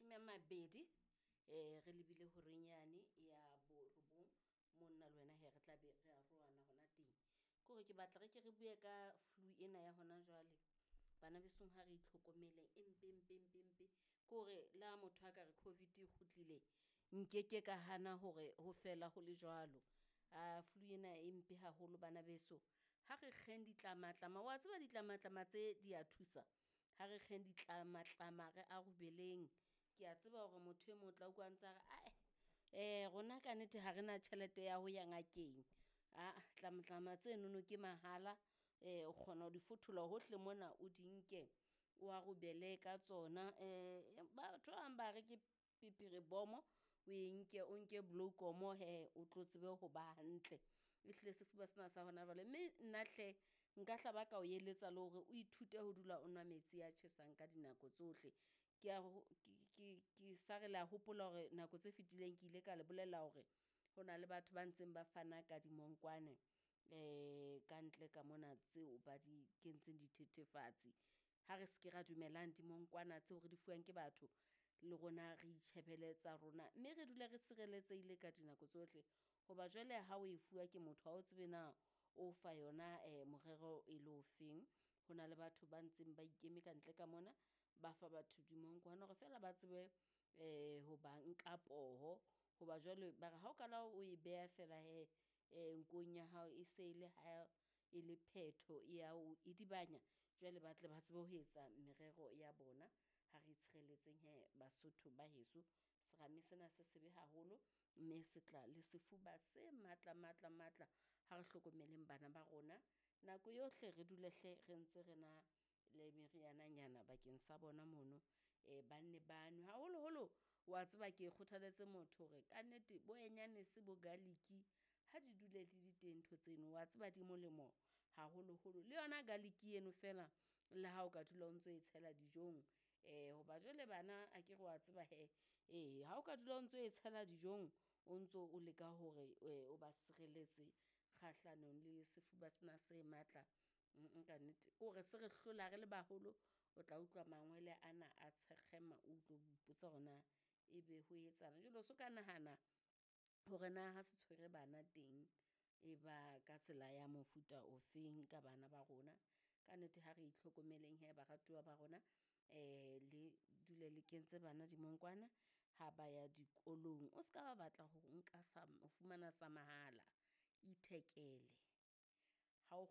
20 re lebile horeng yane ya borobong, mo nna le wena he re tla be re arohana hona teng. Ke hore ke batla re ke re bue ka flu ena ya hona jwale. Bana besong ha re itlhokomeleng e mpe mpe mpe mpe. Ke hore le ha motho a ka re COVID e kgutlile, nkeke ka hana hore ho fela ho le jwalo. Flu ena e mpe haholo bana beso. Ha re kgeng ditlamatlama, wa tseba ditlamatlama tse di a thusa. Ha re kgeng ditlamatlama re arubeleng. Kea tseba hore motho e mong o tla utlwa a ntsa re ae rona ka nnete ha rena tjhelete ya ho ya ngakeng. Aa tlamatlama tsenono ke mahala, o kgona ho di fothola hohle mona o di nke o arubele ka tsona. Batho ba bang ba re ke pepere bomo o e nke o nke bloekom hee o tlo tsebe ho ba hantle. Ehlile sefuba sena sa hona jwale, mme nna hle nka hla ba ka o eletsa le hore o ithute ho dula o nwa metsi a tjhesang ka dinako tsohle. Ke ke ke sa re le a hopola hore nako tse fetileng ke ile ka le bolella hore ho na le batho ba ntseng ba fana ka dimonkwane ka ntle ka mona tseo ba di kentseng dithethefatsi. Ha re seke ra dumelang dimonkwana tseo re di fuwang ke batho, le rona re itjhebele tsa rona mme re dule re sireletsehile ka dinako tsohle. Hoba jwale ha o e fuwa ke motho ha o tsebe na o fa yona morero e le ofeng. Ho na le batho ba ntseng ba ikeme ka ntle ka mona, ba fa batho dimonkwana hore feela ba tsebe ho ba nka poho. Hoba jwale ba re ha o kala o e beha feela hee nkong ya hao e se le ha e le phetho ya o idibanya, jwale ba tle ba tsebe ho etsa merero ya bona. Ha re itshireletseng hee Basotho ba heso, serame sena se sebe haholo mme se tla le sefuba se matla matla matla. Ha re hlokomeleng bana ba rona nako yohle re dule hle re ntse re na le meriananyana bakeng sa bona mono, ba nne ba nwe. Haholoholo wa tseba ke kgothaletse motho hore kannete bo anyanese bo garlic ha di dule di le teng ntho tseno, wa tseba di molemo haholoholo. Le yona garlic eno feela le ha o ka dula o ntso e tshela dijong hoba jwale bana akere wa tseba hee, ee ha o ka dula o ntso e tshela dijong, o ntso o leka hore o ba sireletse kgahlanong le sefuba sena se matla kannete. Ke hore se re hlola re le baholo, o tla utlwa mangwele ana a tshekgema, o utlwe o ipotsa hore na ebe ho etsahalang. Jwale o so ka nahana hore na ha se tshwere bana teng e ba ka tsela ya mofuta ofeng ka bana ba rona. Ka nnete ha re itlhokomeleng hee baratuwa ba rona, le dule le kentse bana dimonkwana ha ba ya dikolong. O ska ba batla ho nka sa ho fumana sa mahala, ithekele ha o .